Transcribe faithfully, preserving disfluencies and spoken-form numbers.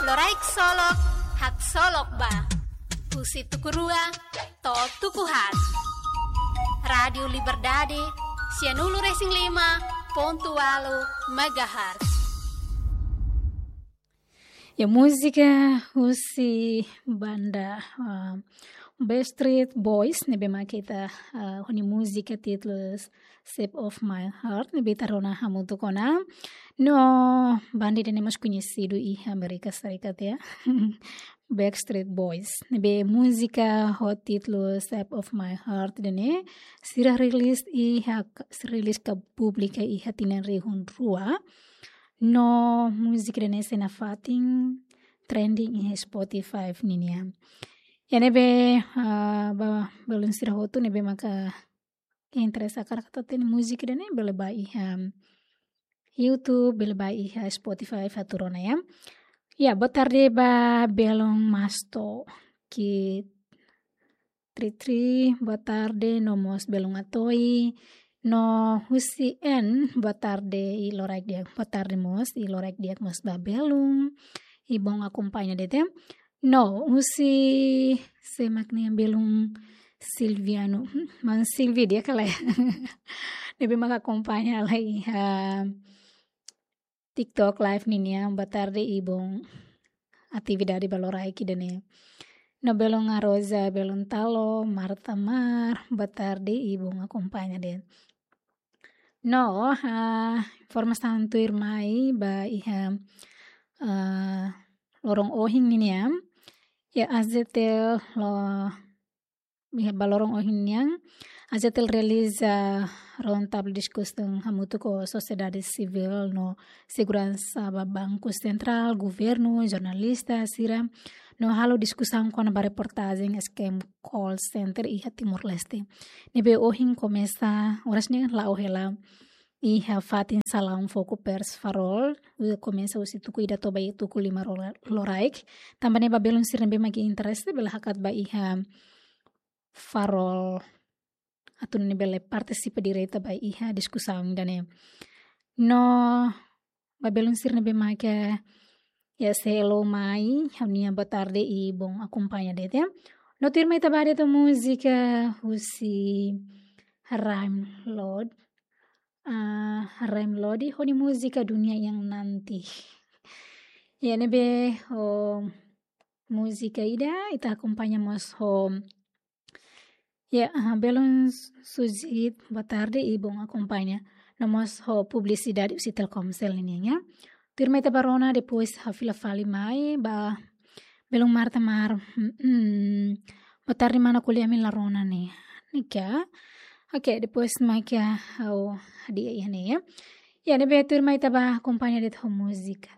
Loraik Solok, haksolok ba. Husi tuku rua to'o tuku haat. Rádiu Liberdade, sianulu-resin-lima pontu ualu megahertz. Ya, múzika husi banda, ah, Backstreet Boys, ne'ebé mak ita, ah, ho nia múzika títulu Shape of My Heart, ne'ebé ita rona hamutuk ona. No, banda ida-ne'e mós koñesidu iha Amérika Serikat, ya. Backstreet Boys. Ne'ebé múzika ho títulu Shape of My Heart ida-ne'e, sira rilis iha, rilis ka publika iha tinan rihun rua. No, múzika ida-ne'e sei nafatin trending iha Spotify ninian. Ya, ne'ebé, ah, ba, belun sira hotu ne'ebé maka interese hakarak atu hatene múzika ida-ne'e, bele bá iha YouTube, bele bá iha Spotify atu rona, ya. Ya, boa tarde ba belun Masto, ki Tri Tri, boa tarde, no mós belun Atoi, no husi N, boa tarde, i loraik di'ak, boa tarde mós, i loraik di'ak mós ba belun, i bom akompaña de'it. No, husi sé mak ne'e, belun Silviano, hmm, man Silvi di'ak kala. Ne'ebé maka akompaña lai, ah, TikTok live ninian, boa tarde i bom atividade ba loraik ida-ne'e. No belun Arosa, belun Talo, Marta Mar, boa tarde i bom akompaña de'it. No, ah, informasaun tuirmai ba iha, ah, loron ohin ninian. Ya, AJTL lo iha ba loron ohin nian, AJTL realiza round table diskusaun hamutuk ho sosiedade sivíl no seguransa ba Banku Sentrál, governu, jornalista sira, no halo diskusaun kona-ba reportajen scam call center iha Timor-Leste. Ne'ebé ohin komesa, oras ne'e la'o hela iha fatin salaun Foku Pers Farol, komesa husi tuku ida to'o ba iha tuku lima lora-, loraik. Tanba ne'e ba belun sira ne'ebé mak interese bele hakat ba iha Farol atu nune'e bele partisipa direta ba iha diskusaun ida-ne'e. No, ba belun sira ne'ebé maka, ya, selo mai, ha'u-nia boa tarde i bom akompaña de'it, ya. No tuirmai ita bá de'it ho múzika husi Rhyme Lord. Ah, Rhyme Lord ho nia múzika Dunia Yang Nanti. Ya, ne'ebé ho múzika ida, ita akompaña mós ho Ya, ah, belun Sujit, boa tarde i bom akompaña. No mós ho publisidade husi Telkomsel ninian, ya. Tuirmai ita bá rona, depois ha'u fila fali mai ba belun Marta Mar. Hmm, hmm. Boa tarde, mana, ko'alia ami la rona ne'e. Ne'e ka? Oke, depois mai ka ha'u hadi'a iha ne'e, ya. Ya, ne'ebé tuirmai ita bá akompaña de'it ho múzika.